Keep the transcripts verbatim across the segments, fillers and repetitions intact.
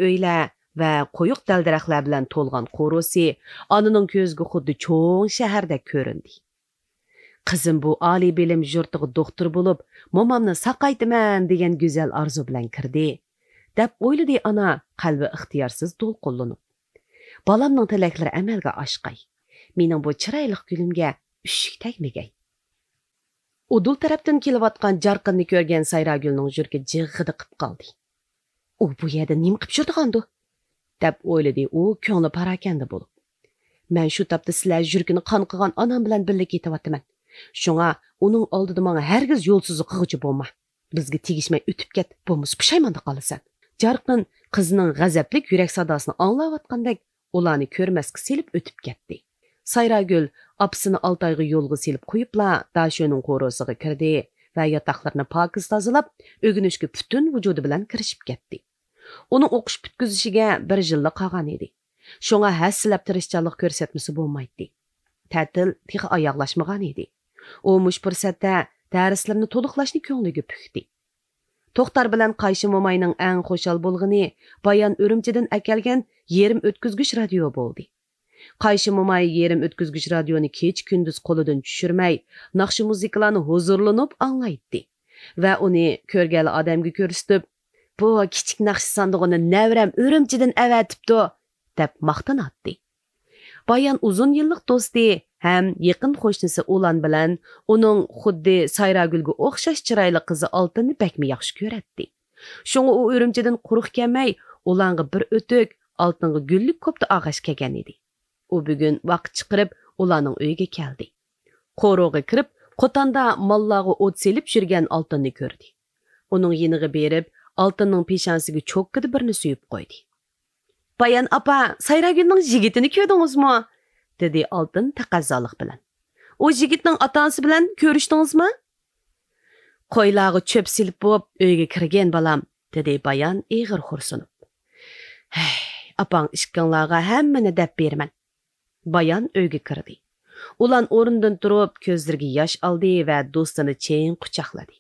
ئۆيلەر ۋە قويۇق دەل-دەرەخلەر بىلەن تولغان قورۇسى ئانىنىڭ كۆزىگە خۇددى چوڭ شەھەردەك كۆرۈندى. قىزىم بۇ ئالىي بىلىم يۇرتىغا دوختۇر بولۇپ، مومامنى ساقايتىمەن دېگەن گۈزەل ئارزۇ بىلەن كىردى، دەپ ئويلىدى ئانا قەلبى ئىختىيارسىز دولقۇنلىنىپ. بالامنىڭ تىلەكلىرى ئەمەلگە ئاشقاي. مېنىڭ بۇ چىرايلىق گۈلۈمگە ئۈششۈك تەگمىگەي. ئۇدۇل تەرەپتىن كېلىۋاتقان جارقىننى كۆرگەن سايراگۈلنىڭ يۈرىكى جىغغىدە قىپ قالدى. ئۇ بۇ يەردە نېمە قىپ يۈرىدىغاندۇ؟ دەپ ئويلىدى ئۇ كۆڭلى پاراكەندە بولۇپ. مەن شۇ تاپتا سىلەر يۈرىكىنى قان قىغان ئانام بىلەن بىللە كېتىۋاتىمەن. شۇڭا ئۇنىڭ ئالدىدا ماڭا ھەرگىز يولسىزلىق قىلغۇچى بولما. بىزگە تېگىشمەي ئۆتۈپ كەت، بولمىسا پۇشايماندا قالىسەن. جارقىن قىزىنىڭ غەزەپلىك يۈرەك ساداسىنى ئاڭلاۋاتقاندەك ئۇلارنى كۆرمەسكە سېلىپ ئۆتۈپ كەتتى. سايراگۈل ئاپىسىنى ئالتايغا يولغا سېلىپ قويۇپلا داشۆنىڭ قورۇسىغا كىردى ۋە ياتاقلىرىنى پاكىز تازىلاپ، ئۆگىنىشكە پۈتۈن ۋۇجۇدى بىلەن كىرىشىپ كەتتى. ئۇنىڭ ئوقۇش پۈتكۈزۈشىگە بىر يىللا قالغان ئىدى. شۇڭا ھەسسىلەپ تىرىشچانلىق كۆرسەتمىسە بولمايتتى. تەتىل تېخى ئاياغلاشمىغان ئىدى. ئۇ مۇشۇ پۇرسەتتە دەرسلىرىنى تولۇقلاشنى كۆڭلىگە پۈكتى. توختار بىلەن قايشى موماينىڭ ئەڭ خۇشال بولغىنى بايان ئۈرۈمچىدىن ئەكەلگەن يېرىم ئۆتكۈزگۈچ رادىيو بولدى. قايشى موماي يېرىم ئۆتكۈزگۈچ رادىيونى كېچە-كۈندۈز قولىدىن چۈشۈرمەي، ناخشا-مۇزىكىلارنى ھۇزۇرلىنىپ ئاڭلايتتى ۋە ئۇنى كۆرگەنلا ئادەمگە كۆرسىتىپ، «بۇ كىچىك ناخشا ساندۇقىنى نەۋرەم ئۈرۈمچىدىن ئەۋەتىپتۇ» دەپ ماختىناتتى. بايان ئۇزۇن يىللىق دوستى ھەم يېقىن قوشنىسى ئۇلان بىلەن ئۇنىڭ خۇددى سايراگۈلگە ئوخشاش چىرايلىق قىزى ئالتىننى بەكمۇ ياخشى كۆرەتتى. شۇڭا ئۇ ئۈرۈمچىدىن قۇرۇق كەلمەي، ئۇلانغا بىر ئۆتۈك ئالتىنغا گۈللۈك كوپتا ئالغاچ كەلگەن ئىدى. ئۇ بۈگۈن ۋاقىت چىقىرىپ ئۇلارنىڭ ئۆيىگە كەلدى. قورۇغا كىرىپ، قوتاندا ماللارغا ئوت سېلىپ يۈرگەن ئالتىننى كۆردى. ئۇنىڭ يېنىغا بېرىپ، ئالتىننىڭ پېشانىسىگە چوككىدە بىرنى سۆيۈپ قويدى. «بايان ئاپا، سايراگۈلنىڭ يىگىتىنى كۆردىڭىزمۇ؟» دېدى ئالتىن تەقەززالىق بىلەن. «ئۇ يىگىتنىڭ ئاتا-ئانىسى بىلەن كۆرۈشتىڭىزمۇ؟» «قويلارغا چۆپ سېلىپ بوپ، ئۆيگە كىرگەن، بالام»، دېدى بايان ئېغىر خورسۇنۇپ. «ھەي، ئاپاڭ ئىككىڭلارغا ھەممىنى دەپ بېرىمەن.» بايان ئۆيگە كىردى. ئۇلان ئورنىدىن تۇرۇپ، كۆزلىرىگە ياش ئالدى ۋە دوستىنى چىڭ قۇچاقلىدى.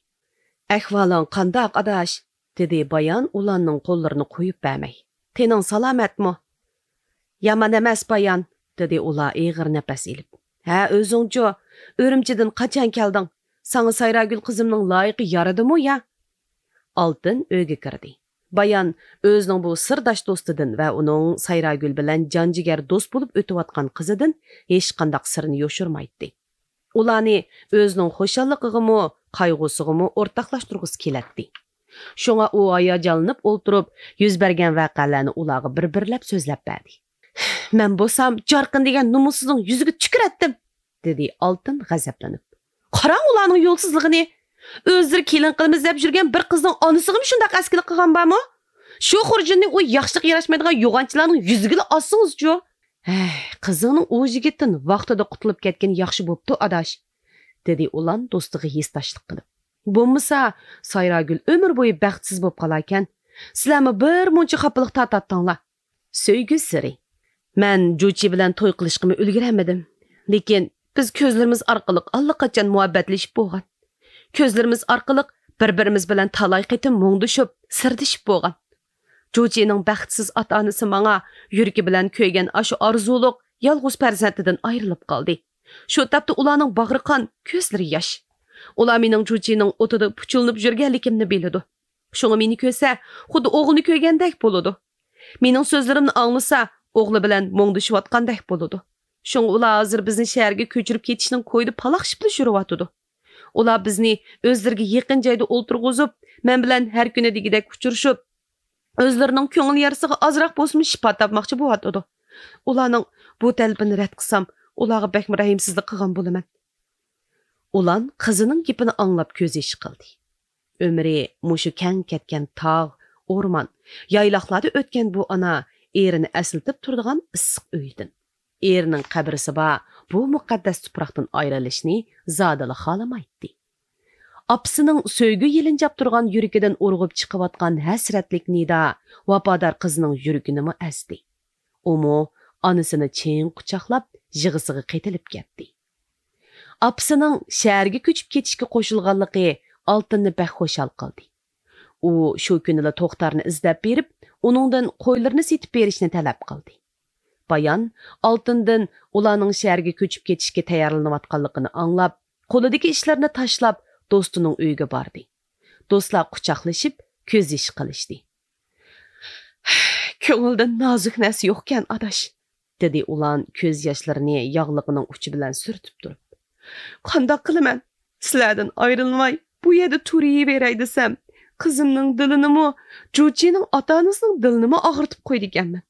«ئەھۋالىڭ قانداق، ئاداش؟» دېدى بايان ئۇلاننىڭ قوللىرىنى قويۇپ بەرمەي. «تېنىڭ سالامەتمۇ؟» «يامان ئەمەس، بايان»، دېدى ئۇلار ئېغىر نەپەس ئېلىپ. «ھە، ئۆزۈڭچۇ؟ ئۈرۈمچىدىن قاچان كەلدىڭ؟ ساڭا سايراگۈل قىزىمنىڭ لايىقى يارىدىمۇ يا؟» ئالتىن ئۆيگە كىردى. بايان ئۆزىنىڭ بۇ سىرداش دوستىدىن ۋە ئۇنىڭ سايراگۈل بىلەن جان-جىگەر دوست بولۇپ ئۆتۈۋاتقان قىزىدىن ھېچقانداق سىرنى يوشۇرمايتتى. ئۇلارنى ئۆزىنىڭ خۇشاللىقىغىمۇ، قايغۇسىغىمۇ ئورتاقلاشتۇرغۇسى كېلەتتى. شۇڭا ئۇ ھاياجانلىنىپ ئولتۇرۇپ، يۈز بەرگەن ۋەقەلەرنى ئۇلارغا بىر-بىرلەپ سۆزلەپ بەردى. «مەن بولسام جارقىن دېگەن نومۇسسىزنىڭ يۈزىگە تۈكۈرەتتىم!» دېدى ئالتىن غەزەپلىنىپ. «قاراڭ ئۇلارنىڭ يولسىزلىقىنى! ئۆزلىرى كېلىن قىلىمىز دەپ يۈرگەن بىر قىزنىڭ ئانىسىغىمۇ شۇنداق ئەسكىلىك قىلغان بارمۇ؟ شۇ خۇرجۇننى ئۇ ياخشىلىققا ياراشمايدىغان يوغانچىلارنىڭ يۈزىگىلا ئاسسىڭىزچۇ!» «ھەي، قىزىڭنىڭ ئۇ يىگىتتىن ۋاقتىدا قۇتۇلۇپ كەتكىنى ياخشى بوپتۇ، ئاداش.» دېدى ئۇلان دوستىغا ھېسداشلىق قىلىپ. «بولمىسا، سايراگۈل ئۆمۈر بويى بەختسىز بوپ قالاركەن. سىلەرمۇ بىر مۇنچە خاپىلىق تارتاتتىڭلار.» سۆيگۈ سىرى. مەن جۇچى بىلەن توي قىلىشقىمۇ ئۈلگۈرەلمىدىم. لېكىن بىز كۆزلىرىمىز ئارقىلىق ئاللىقاچان مۇھەببەتلىشىپ بولغان. كۆزلىرىمىز ئارقىلىق بىر-بىرىمىز بىلەن تالاي قېتىم مۇڭدىشىپ، سىردىشىپ بولغان. جۇچىنىڭ بەختسىز ئاتا-ئانىسى ماڭا يۈرىكى بىلەن كۆيگەن ئاشۇ ئارزۇلۇق يالغۇز پەرزەنتىدىن ئايرىلىپ قالدى. شۇ تاپتا ئۇلارنىڭ باغرى قان، كۆزلىرى ياش. ئۇلار مېنىڭ جۇچىنىڭ ئوتىدا پۇچۇلىنىپ يۈرگەنلىكىمنى بىلىدۇ. شۇڭا مېنى كۆرسە، خۇددى ئوغلىنى كۆرگەندەك بولىدۇ. مېنىڭ سۆزلىرىمنى ئاڭلىسا، ئوغلى بىلەن مۇڭدىشىۋاتقاندەك بولىدۇ. شۇڭا ئۇلار ھازىر بىزنى شەھەرگە كۆچۈرۈپ كېتىشنىڭ كويىدا پالاقشىپلا يۈرۈۋاتىدۇ. ئۇلار بىزنى ئۆزلىرىگە يېقىن جايدا ئولتۇرغۇزۇپ، مەن بىلەن ھەر كۈنى دېگۈدەك ئۇچرىشىپ، ئۆزلىرىنىڭ كۆڭۈل يارىسىغا ئازراق بولسىمۇ شىپا تاپماقچى بولۇۋاتىدۇ. ئۇلارنىڭ بۇ تەلىپىنى رەت قىلسام، ئۇلارغا بەكمۇ رەھىمسىزلىك قىلغان بولىمەن. ئۇلان قىزىنىڭ گېپىنى ئاڭلاپ كۆز يېشى قىلدى. ئۆمرى مۇشۇ كەڭ كەتكەن تاغ، ئورمان، يايلاقلاردا ئۆتكەن بۇ ئانا ئېرىنى ئەسلىتىپ تۇرىدىغان ئىسسىق ئۆيدىن، ئېرىنىڭ قەبرىسى بار بۇ مۇقەددەس تۇپراقتىن ئايرىلىشنى زادىلا خالىمايتتى. ئاپىسىنىڭ سۆيگۈ يېلىنجاپ تۇرغان يۈرىكىدىن ئۇرغۇپ چىقىۋاتقان ھەسرەتلىك نىدا ۋاپادار قىزىنىڭ يۈرىكىنىمۇ ئەزدى. ئۇمۇ ئانىسىنى چىڭ قۇچاقلاپ، يىغىسىغا قېتىلىپ كەتتى. ئاپىسىنىڭ شەھەرگە كۆچۈپ كېتىشكە قوشۇلغانلىقى ئالتىننى بەك خۇشال قىلدى. ئۇ شۇ كۈنىلا توختارنى ئىزدەپ بېرىپ، ئۇنىڭدىن قويلىرىنى سېتىپ بېرىشنى تەلەپ قىلدى. بايان ئالتۇندىن ئۇلارنىڭ شەھەرگە كۆچۈپ كېتىشكە تەييارلىنىۋاتقانلىقىنى ئاڭلاپ، قولىدىكى ئىشلىرىنى تاشلاپ، دوستىنىڭ ئۆيىگە باردى. دوستلار قۇچاقلىشىپ، كۆز يېشى قىلىشتى. كۆڭۈلدە نازۇك نەرسە يوقكەن، ئاداش، دېدى ئۇلان كۆز ياشلىرىنى ياغلىقىنىڭ ئۇچى بىلەن سۈرتۈپ تۇرۇپ. قانداق قىلىمەن؟ سىلەردىن ئايرىلماي، بۇ يەردە تۇرۇۋېرەي دېسەم، قىزىمنىڭ دىلىنىمۇ، جۇچىنىڭ ئاتا-ئانىسىنىڭ دىلىنىمۇ ئاغرىتىپ قويىدىكەنمەن.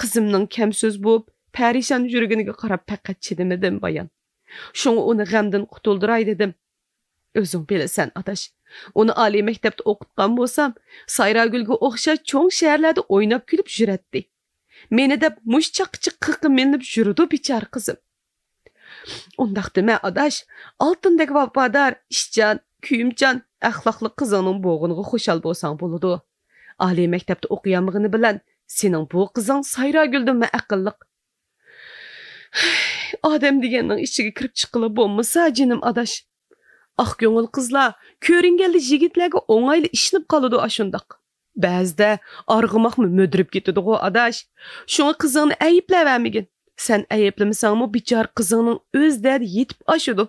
قىزىمنىڭ كەمسۆز بولۇپ، پەرىشان يۈرگىنىگە قاراپ پەقەت چىدىمىدىم، بايان. شۇڭا ئۇنى غەمدىن قۇتۇلدۇراي دېدىم. ئۆزۈڭ بىلىسەن، ئاداش. ئۇنى ئالىي مەكتەپتە ئوقۇتقان بولسام، سايراگۈلگە ئوخشاش چوڭ شەھەرلەردە ئويناپ كۈلۈپ يۈرەتتى. مېنى دەپ مۇشۇ چاققىچە قىقىمىلىنىپ يۈرىدۇ بىچارە قىزىم. ئۇنداق دېمە، ئاداش. ئالتۇندەك ۋاپادار، ئىشچان، كۆيۈمچان، ئەخلاقلىق قىزىڭنىڭ بوغۇنىغا خۇشال بولساڭ بولىدۇ. ئالىي مەكتەپتە ئوقۇيالمىغىنى بىلەن سېنىڭ بۇ قىزىڭ سايراگۈلدىنمۇ ئەقىللىق. ئادەم دېگەننىڭ ئىچىگە كىرىپ چىققىلى بولمىسا، جېنىم ئاداش. ئاق كۆڭۈل قىزلار كۆرۈنگەندە يىگىتلەرگە ئوڭايلا ئىشىنىپ قالىدۇ ئاشۇنداق. بەزىدە ئارغىماقمۇ مۈدۈرۈپ كېتىدىغۇ، ئاداش. شۇڭا قىزىڭنى ئەيىبلەۋەرمىگىن. سەن ئەيىبلىمىسەڭمۇ، بىچارە قىزىڭنىڭ ئۆز دەردى يېتىپ ئاشىدۇ.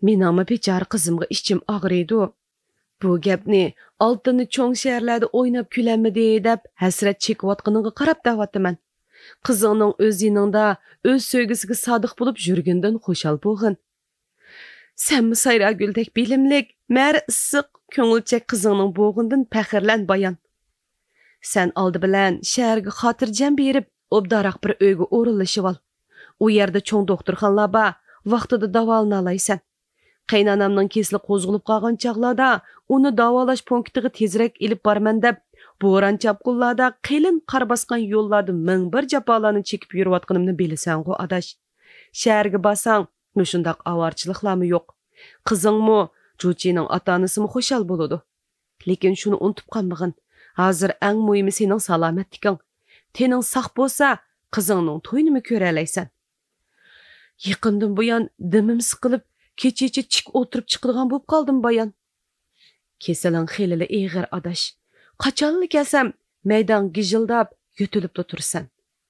مېنىڭمۇ بىچارە قىزىمغا ئىچىم ئاغرىيدۇ. بۇ گەپنى ئالتۇننى چوڭ شەھەرلەردە ئويناپ كۈلەلمىدى دەپ ھەسرەت چېكىۋاتقىنىڭغا قاراپ دەۋاتىمەن. قىزىڭنىڭ ئۆز يېنىڭدا ئۆز سۆيگۈسىگە سادىق بولۇپ يۈرگىنىدىن خۇشال بولغىن. سەنمۇ سايراگۈلدەك بىلىملىك، مەرى ئىسسىق، كۆڭۈلچەك قىزىڭنىڭ بوغۇنىدىن پەخىرلەن، بايان. سەن ئالدى بىلەن شەھەرگە خاتىرجەم بېرىپ، ئوبدانراق بىر ئۆيگە ئورۇنلىشىۋال. ئۇ يەردە چوڭ دوختۇرخانىلار بار، ۋاقتىدا داۋالىنالايسەن. قېيىنئانامنىڭ كېسىلى قوزغىلىپ قالغان چاغلاردا ئۇنى داۋالاش پونكىتىغا تېزرەك ئېلىپ بارىمەن دەپ، بوران-چاپقۇنلاردا، قېلىن قار باسقان يوللاردا مىڭ بىر جاپالارنى چېكىپ يۈرۈۋاتقىنىمنى بىلىسەنغۇ، ئاداش. شەھەرگە بارساڭ، مۇشۇنداق ئاۋارىچىلىقلارمۇ يوق. قىزىڭمۇ، جۇچىنىڭ ئاتا-ئانىسىمۇ خۇشال بولىدۇ. لېكىن شۇنى ئۇنتۇپ قالمىغىن، ھازىر ئەڭ مۇھىمى سېنىڭ سالامەتلىكىڭ. تېنىڭ ساق بولسا، قىزىڭنىڭ تويىنىمۇ كۆرەلەيسەن. يېقىندىن بۇيان دېمىم سىقىلىپ، كېچىچە چىك ئولتۇرۇپ چىقىدىغان بولۇپ قالدىم، بايان. كېسىلىڭ خېلىلا ئېغىر، ئاداش. قاچانلا كەلسەم، مەيداڭ گىژىلداپ، يۆتىلىپلا تۇرىسەن.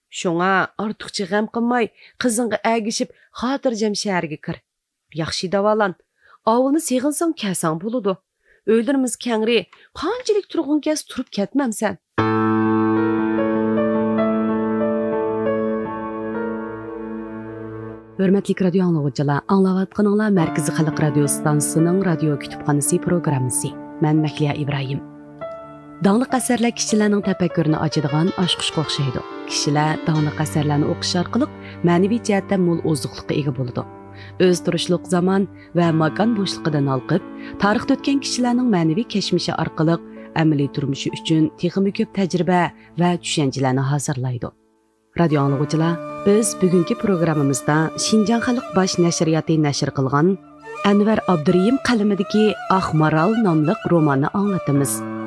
شۇڭا ئارتۇقچە غەم قىلماي، قىزىڭغا ئەگىشىپ، خاتىرجەم شەھەرگە كىر. ياخشى داۋالان. ئاۋۇلنى سېغىنساڭ كەلسەڭ بولىدۇ. ئۆيلىرىمىز كەڭرى، قانچىلىك تۇرغۇڭ كەلسە تۇرۇپ كەتمەمسەن. ھۆرمەتلىك رادىيو ئاڭلىغۇچىلار، ئاڭلاۋاتقىنىڭلار مەركىزىي خەلق رادىيو ئىستانسىسىنىڭ رادىيو كۇتۇپخانىسى پروگراممىسى. مەن مەھلىيا ئىبراھىم. داڭلىق ئەسەرلەر كىشىلەرنىڭ تەپەككۇرىنى ئاچىدىغان ئاچقۇچقا ئوخشايدۇ. كىشىلەر داڭلىق ئەسەرلەرنى ئوقۇش ئارقىلىق مەنىۋى جەھەتتە مول ئوزۇقلۇققا ئىگە بولىدۇ. ئۆز تۇرۇشلۇق زامان ۋە ماكان بوشلۇقىدىن ھالقىپ، تارىختا ئۆتكەن كىشىلەرنىڭ مەنىۋى كەچمىشى ئارقىلىق ئەمەلىي تۇرمۇشى ئۈچۈن تېخىمۇ كۆپ تەجرىبە ۋە چۈشەنچىلەرنى ھازىرلايدۇ. رادىيو ئاڭلىغۇچىلار، بىز بۈگۈنكى پروگراممىمىزدا شىنجاڭ خەلق باش نەشرىياتى نەشر قىلغان ئەنۋەر ئابدۇرېھىم قەلىمىدىكى ئاق مارال ناملىق روماننى ئاڭلىتىمىز.